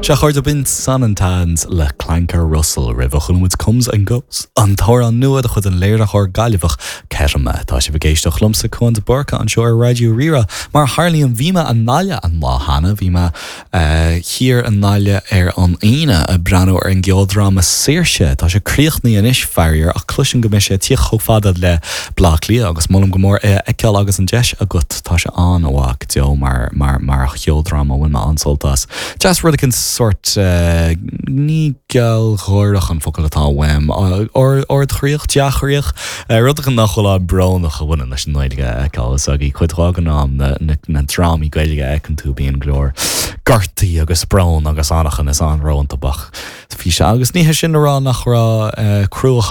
Sea, a chairde, b'in Sanantans le Clanker Russell roimhe chuala muid Comes and Goes, an t-amhrán nua de chuid an léiritheoir Gaillimheach Kettama. Tá sibh ag éisteacht liomsa, Cuan de Búrca, anseo ar Raidió Rí-Rá. Mar a tharlaíonn, bhí mé i nGaillimh an lá cheana, bhí mé thiar i nGaillimh ar an Aoine ag breathnú ar an gceoldráma Saoirse. Tá sé críochnaithe anois, faraor, ach cloisim go mbeidh sé ag tíocht chomh fada le Bleá Cliath agus molaim go mór é a fheiceáil agus an deis agat. Tá sé an-mhaith go deo mar, mar, mar cheoldráma, bhain mé an-sult as. Deas rud éicint sórt, ní gealgháireach an focal atá uaim, ardchroíoch, dea-chroíoch, rud éicint nach bhfuil an-bhrónach a bhaineann leis an nGaeilge a fheiceáil. Is agaí cuid mhaith den am na drámaí Gaeilge a fheiceann tú bíonn go leor gortaí agus brón agus anachain is anró iontu ach bhí sé agus ní hé sin le rá nach raibh cruachan.